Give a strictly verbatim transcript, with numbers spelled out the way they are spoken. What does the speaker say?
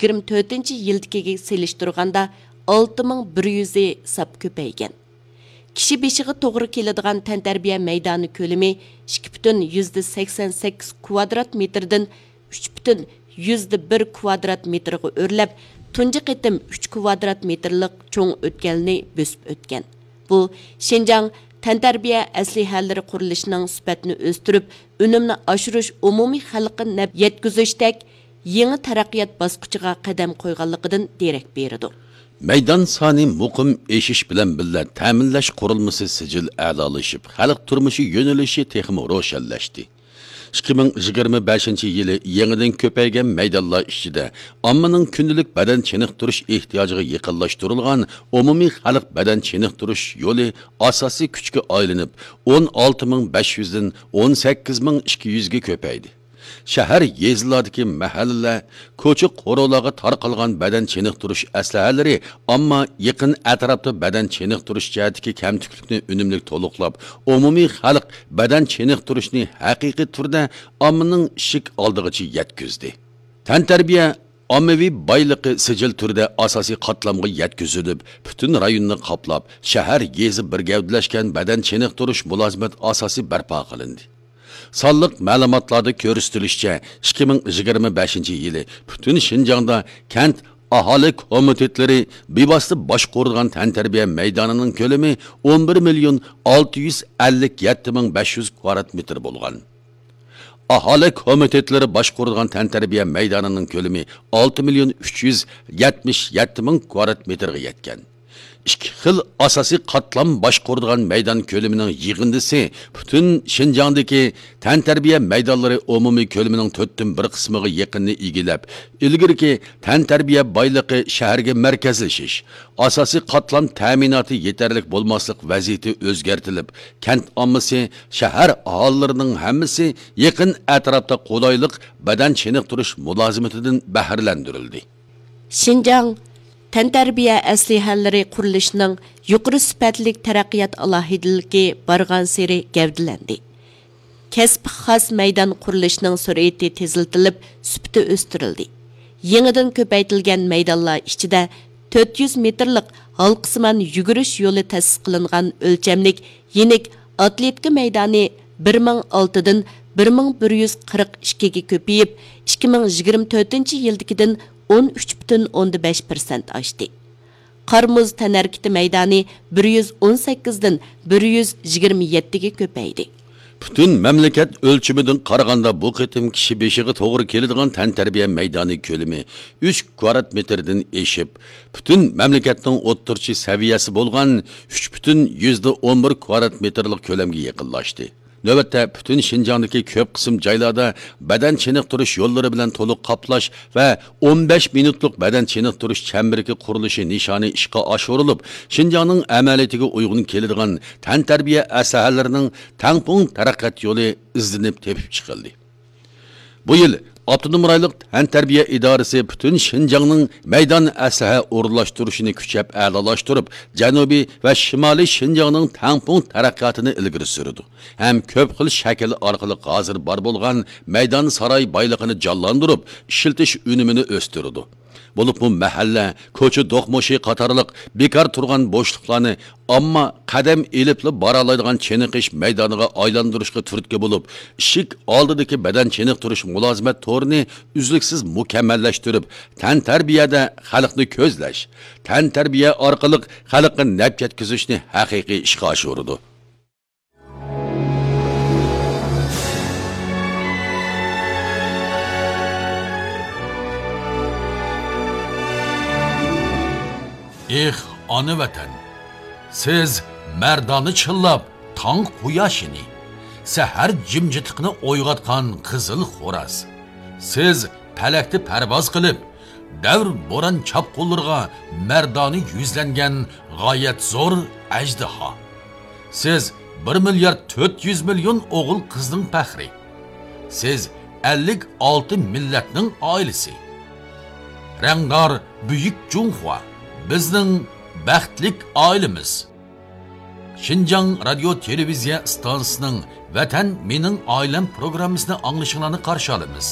يىگىرمە تۆتىنچى يىلدىكىگە سېلىشتۇرغاندا ئالتە مىڭ بىر يۈز ساپ كۆپەيگەن. كىشى بېشىغا توغرا كېلىدىغان تەنتەربىيە مەيدانى كۆلىمى ئىككى پۈتۈن يۈزدە سەكسەن سەككىز كۋادرات مېتىردىن ئۈچ پۈتۈن يۈزدە بىر كۋادرات مېتىرغا ئۆرلەپ، تۇنجى قېتىم ئۈچ كۋادرات مېتىرلىق چوڭ ئۆتكەلنى بۆسۈپ ئۆتكەن. بۇ، شىنجاڭ تەنتەربىيە ئەسلىھەلىرى قۇرۇلۇشىنىڭ سۈپەتنى ئۆستۈرۈپ، ئۈنۈمنى ئاشۇرۇش، ئومۇمىي خەلققە نەپ يەتكۈزۈشتەك يېڭى تەرەققىيات باسقۇچىغا قەدەم قويغانلىقىدىن دېرەك بېرىدۇ. مەيدان سانى مۇقىم ئېشىش بىلەن بىللە، تەمىنلەش قۇرۇلمىسى سىجىل ئەلالىشىپ، خەلق تۇرمۇشى يۆنىلىشى تېخىمۇ روشەنلەشتى. ئىككى مىڭ يىگىرمە بەشىنچى يىلى يېڭىدىن كۆپەيگەن مەيدانلار ئىچىدە ئاممىنىڭ كۈندىلىك بەدەن چېنىقتۇرۇش ئېھتىياجىغا يېقىنلاشتۇرۇلغان ئومۇمىي خەلق بەدەن چېنىقتۇرۇش يولى ئاساسىي كۈچكە ئايلىنىپ، ئون ئالتە مىڭ بەش يۈزدىن ئون سەككىز مىڭ ئىككى يۈزگە كۆپەيدى. شەھەر، يېزىلاردىكى مەھەللىلەر، كوچا قورۇلارغا تارقالغان بەدەن چېنىقتۇرۇش ئەسلىھەلىرى ئامما يېقىن ئەتراپتا بەدەن چېنىقتۇرۇش جەھەتتىكى كەمتۈكلۈكنى ئۈنۈملۈك تولۇقلاپ، ئومۇمىي خەلق بەدەن چېنىقتۇرۇشنى ھەقىقىي تۈردە ئاممىنىڭ ئىشىك ئالدىغىچە يەتكۈزدى. تەنتەربىيە ئاممىۋى بايلىقى سىجىل تۈردە ئاساسىي قاتلامغا يەتكۈزۈلۈپ، پۈتۈن رايوننى قاپلاپ، شەھەر، يېزا بىر گەۋدىلەشكەن بەدەن چېنىقتۇرۇش مۇلازىمەت ئاساسى بەرپا قىلىندى. سانلىق مەلۇماتلاردا كۆرسىتىلىشىچە، ئىككى مىڭ يىگىرمە بەشىنچى يىلى پۈتۈن شىنجاڭدا كەنت ئاھالە كومىتېتلىرى بىۋاسىتە باشقۇرىدىغان تەنتەربىيە مەيدانىنىڭ كۆلىمى ئون بىر مىليون ئالتە يۈز ئەللىك يەتتە مىڭ بەش يۈز كۋادرات مېتىر بولغان. ئاھالە كومىتېتلىرى باشقۇرىدىغان تەنتەربىيە مەيدانىنىڭ كۆلىمى ئالتە مىليون ئۈچ يۈز يەتمىش يەتتە مىڭ كۋادرات مېتىرغا يەتكەن. ئىككى خىل ئاساسىي قاتلام باشقۇرىدىغان مەيدان كۆلىمىنىڭ يىغىندىسى پۈتۈن شىنجاڭدىكى تەنتەربىيە مەيدانلىرى ئومۇمىي كۆلىمىنىڭ تۆتتىن بىر قىسمىغا يېقىنىنى ئىگىلەپ، ئىلگىرىكى تەنتەربىيە بايلىقى شەھەرگە مەركەزلىشىش، ئاساسىي قاتلام تەمىناتى يېتەرلىك بولماسلىق ۋەزىيىتى ئۆزگەرتىلىپ، كەنت ئاممىسى، شەھەر ئاھالىلىرىنىڭ ھەممىسى يېقىن ئەتراپتا قولايلىق بەدەن چېنىقتۇرۇش مۇلازىمىتىدىن بەھرىلەندۈرۈلدى. شىنجاڭ تەنتەربىيە ئەسلىھەلىرى قۇرۇلۇشىنىڭ يۇقىرى سۈپەتلىك تەرەققىيات ئالاھىدىلىكى بارغانسېرى گەۋدىلەندى. كەسىپكە خاس مەيدان قۇرۇلۇشىنىڭ سۈرئىتى تېزلىتىلىپ، سۈپىتى ئۆستۈرۈلدى. يېڭىدىن كۆپەيتىلگەن مەيدانلار ئىچىدە تۆت يۈز مېتىرلىق ھالقىسىمان يۈگۈرۈش يولى تەسىس قىلىنغان ئۆلچەملىك يېنىك ئاتلېتىكا مەيدانى بىر مىڭ ئالتىدىن بىر مىڭ بىر يۈز قىرىق ئىككىگە كۆپىيىپ، ئىككى مىڭ يىگىرمە تۆتىنچى يىلدىكىدىن ئون ئۈچ پۈتۈن ئوندىن بەش پىرسەنت ئاشتى. قار مۇز تەنھەرىكىتى مەيدانى بىر يۈز ئون سەككىزدىن بىر يۈز يىگىرمە يەتتىگە كۆپەيدى. پۈتۈن مەملىكەت ئۆلچىمىدىن قارىغاندا، بۇ قېتىم كىشى بېشىغا توغرا كېلىدىغان تەنتەربىيە مەيدانى كۆلىمى ئۈچ كۋادرات مېتىردىن ئېشىپ، پۈتۈن مەملىكەتنىڭ ئوتتۇرىچە سەۋىيەسى بولغان ئۈچ پۈتۈن يۈزدە ئون بىر كۋادرات مېتىرلىق كۆلەمگە يېقىنلاشتى. نۆۋەتتە پۈتۈن شىنجاڭدىكى كۆپ قىسىم جايلاردا بەدەن چېنىقتۇرۇش يوللىرى بىلەن تولۇق قاپلاش ۋە ئون بەش مىنۇتلۇق بەدەن چېنىقتۇرۇش چەمبىرىكى قۇرۇلۇشى نىشانى ئىشقا ئاشۇرۇلۇپ، شىنجاڭنىڭ ئەمەلىيىتىگە ئۇيغۇن كېلىدىغان تەنتەربىيە ئەسلىھەلىرىنىڭ تەڭپۇڭ تەرەققىيات يولى ئىزدىنىپ تېپىپ چىقىلدى. بۇ يىل ئاپتونوم رايونلۇق تەنتەربىيە ئىدارىسى پۈتۈن شىنجاڭنىڭ مەيدان ئەسلىھە ئورۇنلاشتۇرۇشىنى كۈچەپ ئەلالاشتۇرۇپ، جەنۇبىي ۋە شىمالىي شىنجاڭنىڭ تەڭپۇڭ تەرەققىياتىنى ئىلگىرى سۈرىدۇ ھەم كۆپ خىل شەكىل ئارقىلىق ھازىر بار بولغان مەيدان ساراي بايلىقىنى جانلاندۇرۇپ، ئىشلىتىش ئۈنۈمىنى ئۆستۈرىدۇ. بولۇپمۇ مەھەللە، كوچا دوقمۇشى قاتارلىق بىكار تۇرغان بوشلۇقلارنى ئامما قەدەم ئېلىپلا بارالايدىغان چېنىقىش مەيدانىغا ئايلاندۇرۇشقا تۈرتكە بولۇپ، ئىشىك ئالدىدىكى بەدەن چېنىقتۇرۇش مۇلازىمەت تورىنى ئۈزلۈكسىز مۇكەممەللەشتۈرۈپ، تەنتەربىيەدە خەلقنى كۆزلەش، تەنتەربىيە ئارقىلىق خەلققە نەپ يەتكۈزۈشنى ھەقىقىي ئىشقا ئاشۇرىدۇ. ئېھ، ئانا ۋەتەن! سىز مەردانە چىللاپ تاڭ قۇياشىنى، سەھەر جىمجىتلىقىنى ئويغاتقان قىزىل خوراز. سىز پەلەكتە پەرۋاز قىلىپ، دەۋر بوران چاپقۇنلىرىغا مەردانە يۈزلەنگەن غايەت زور ئەجدىھا. سىز بىر مىليارد تۆت يۈز مىليون ئوغۇل قىزنىڭ پەخرى. سىز ئەللىك ئالتە مىللەتنىڭ ئائىلىسى. رەڭدار بۈيۈك جۇڭخۇا، بىزنىڭ بەختلىك ئائىلىمىز. شىنجاڭ رادىيو تېلېۋىزىيە ئىستانسىسىنىڭ ۋەتەن مېنىڭ ئائىلەم پروگراممىسىنى ئاڭلىشىڭلارنى قارشى ئالىمىز.